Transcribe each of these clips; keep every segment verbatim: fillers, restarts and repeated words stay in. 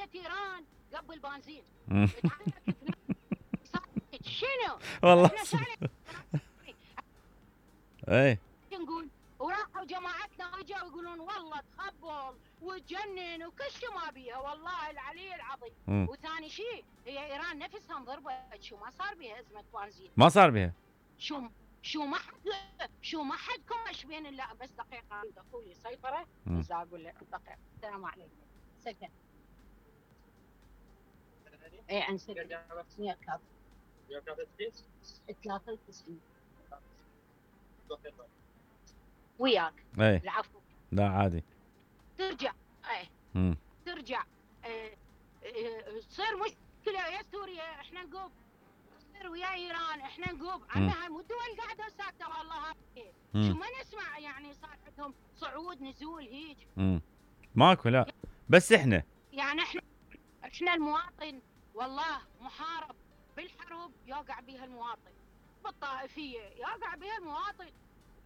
تحركت ايران قبل بنزين. مم. تحركت صارت شنو؟ والله احنا شعلي اي نقول وراحوا جماعتنا اجوا يقولون والله تخبل وتجنن وكل شيء ما بيها، والله العلي العظيم. مم. وثاني شيء هي ايران نفسها انضربت، شو ما صار بها ازمه بنزين؟ ما صار بها. شو شو ما حد شو ما حد كوش بين. لا بس دقيقه اخوي سيطره، مم. بس اقول لك دقيقه. السلام عليكم. سكن اي عن سكن مية كاف ثلاثة وتسعين وياك. اي العفو. لا عادي. ترجع اي مم. ترجع اه اه تصير مشكله يا سوريا احنا نقوب، تصير ويا ايران احنا نقوب. عمي هاي مو الدول قاعده ساكته والله هاي. شو ما نسمع يعني صار عندهم صعود نزول هيك. امم ماكو لا، بس احنا يعني احنا احنا المواطن والله محارب بالحرب يوقع بها المواطن، بالطائفيه يوقع بها المواطن،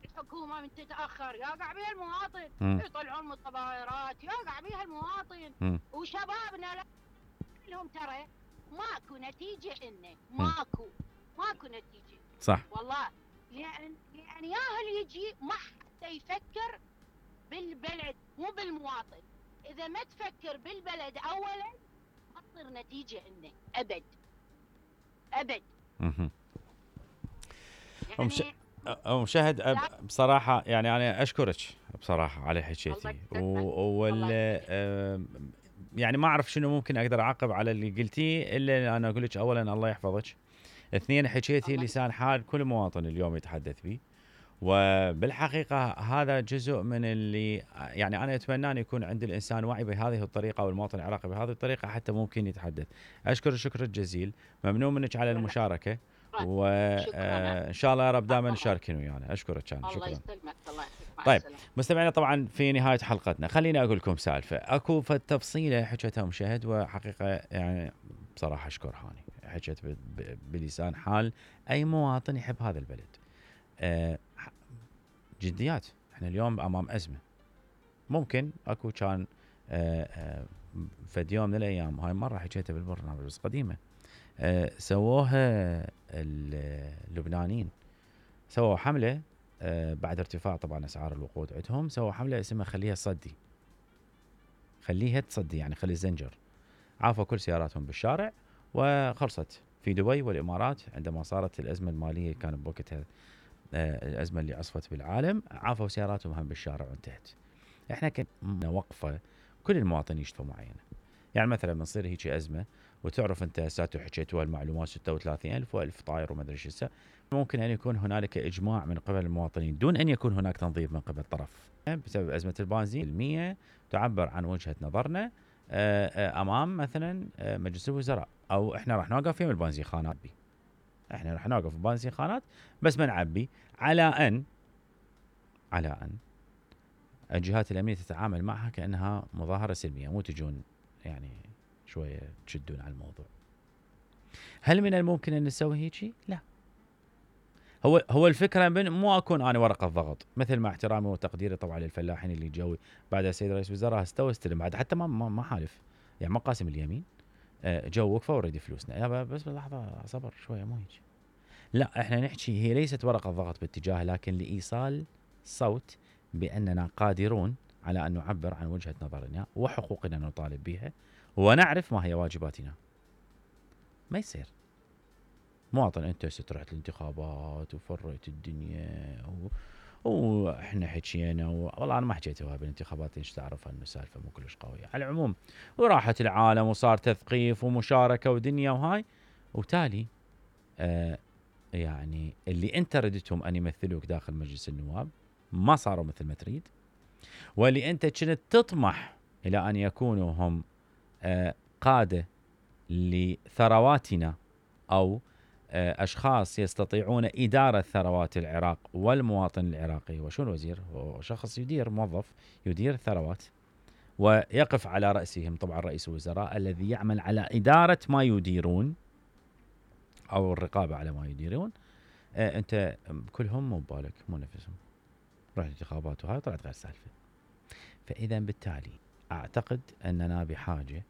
الحكومه من تتاخر يوقع بها المواطن، يطلعون متظاهرات يوقع بها المواطن. م. وشبابنا لا لهم ترى ماكو نتيجه، انه ماكو ماكو نتيجه. صح والله لان لان ياهل يجي ما حتى يفكر بالبلد مو بالمواطن. اذا ما تفكر بالبلد اولا ما تصير نتيجه انه ابد ابد. اها يعني أم شهد بصراحة يعني أنا أشكرك بصراحة على حكيتي، وال يعني ما أعرف شنو ممكن أقدر أعقب على اللي قلتيه إلا أنا أقول لك أولاً الله يحفظك، اثنين حكيتي لسان حال كل مواطن اليوم يتحدث به، وبالحقيقة هذا جزء من اللي يعني أنا أتمنى أن يكون عند الإنسان وعي بهذه الطريقة والمواطن العراقي بهذه الطريقة حتى ممكن يتحدث. أشكر شكر الجزيل، ممنون منك على المشاركة، وإن شاء الله يا رب دائما نشاركين ويانا. أشكرك كان. الله يسلمك. الله يعطيك. طيب مستمعينا طبعا في نهاية حلقتنا خليني أقول لكم سالفة أكو فتفصيلة حكتها مشاهد، وحقيقة يعني بصراحة أشكرها هاني حكت بلسان حال أي مواطن يحب هذا البلد. أه جديات احنا اليوم امام ازمه، ممكن اكو كان أه أه فد يوم من الايام، هاي مره حكيتها بالبرنامج بس قديمه، أه سووها اللبنانيين، سووا حمله أه بعد ارتفاع طبعا اسعار الوقود عندهم، سووا حمله اسمها خليها تصدي، خليها تصدي يعني خلي الزنجر، عافوا كل سياراتهم بالشارع وخلصت. في دبي والامارات عندما صارت الازمه الماليه كان بوقتها الأزمة اللي عصفت بالعالم، عافوا سياراتهم هم بالشارع وانتهت. احنا كنا وقفة كل المواطنين يشتفوا معينة، يعني مثلا بنصير هيك أزمة وتعرف انت ساتو حكيتوا المعلومات ستة وثلاثين ألف وألف طاير وما ادري ايش، ممكن ان يكون هنالك اجماع من قبل المواطنين دون ان يكون هناك تنظيف من قبل طرف بسبب أزمة البنزين. المية تعبر عن وجهة نظرنا امام مثلا مجلس الوزراء، او احنا راح نوقف يم البنزين خانات بي، احنا راح نوقف بنزين خانات بس ما نعبي، على ان على ان الجهات الامنيه تتعامل معها كانها مظاهره سلميه، مو تجون يعني شويه تشدون على الموضوع. هل من الممكن ان نسوي هيك؟ لا. هو هو الفكره من مو اكون انا ورقه ضغط، مثل مع احترامي وتقديري طبعا للفلاحين اللي جو بعد السيد رئيس الوزراء استوى استلم بعد حتى ما ما حالف، يعني ما قاسم اليمين، جو وقفه وريدي فلوسنا، بس لحظه صبر شويه مو هيك. لا احنا نحكي هي ليست ورقة ضغط باتجاه، لكن لإيصال صوت بأننا قادرون على أن نعبر عن وجهة نظرنا وحقوقنا نطالب بها ونعرف ما هي واجباتنا. ما يصير مواطن انت سترحت الانتخابات وفريت الدنيا و... واحنا حكينا و... والله انا ما حكيتها بالانتخابات، ايش تعرف انه سالفه مو كلش قويه على العموم، وراحت العالم وصار تثقيف ومشاركه ودنيا وهاي، وتالي آه يعني اللي انت ردتهم ان يمثلوك داخل مجلس النواب ما صاروا مثل ما تريد، واللي انت كنت تطمح الى ان يكونوا هم آه قادة لثرواتنا او آه اشخاص يستطيعون ادارة ثروات العراق والمواطن العراقي. وشو الوزير؟ هو شخص يدير، موظف يدير الثروات ويقف على رأسهم طبعا رئيس الوزراء الذي يعمل على إدارة ما يديرون او الرقابة على ما يديرون. آه انت كلهم مو ببالك مو نفسهم، رحت انتخابات وهاي طلعت غير سالفه. فاذا بالتالي اعتقد اننا بحاجه